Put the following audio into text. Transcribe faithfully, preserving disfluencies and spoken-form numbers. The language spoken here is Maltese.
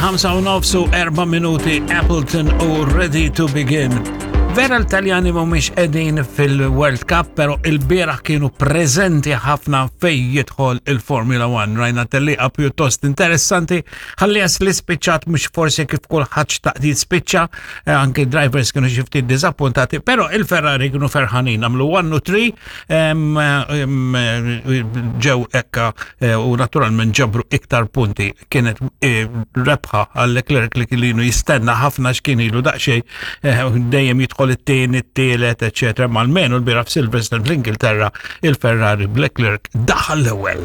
Il-ħamsa u nofs u erba' minuti, Appleton u "Ready to Begin". Vera l-Taljani mhumiex qegħdin fil-World Cup, pero il-bieraħ kienu preżenti ħafna fej jidħol il-Formula One. Rajna tellieqa pjuttost interessanti, ħalli li spiċċat mhux forsi kif kulħadd xtaq spiċċa, eh, anke drivers kienu xi ftit diżappuntati, pero il-Ferrari kienu ferħanin, għamlu one u three, ġew ekka eh, u naturalment ġabru iktar punti. Kienet eh, rebħa għal Leclerc li kienu jistenna ħafna, x'kien ilu daqsxejn dejjem jidħol it-tieni, it-tielet, eċetera. Ma almenu l-bieraħ f'Silverstone fl-Ingilterra il-Ferrari b'Leclerc daħal l-ewwel.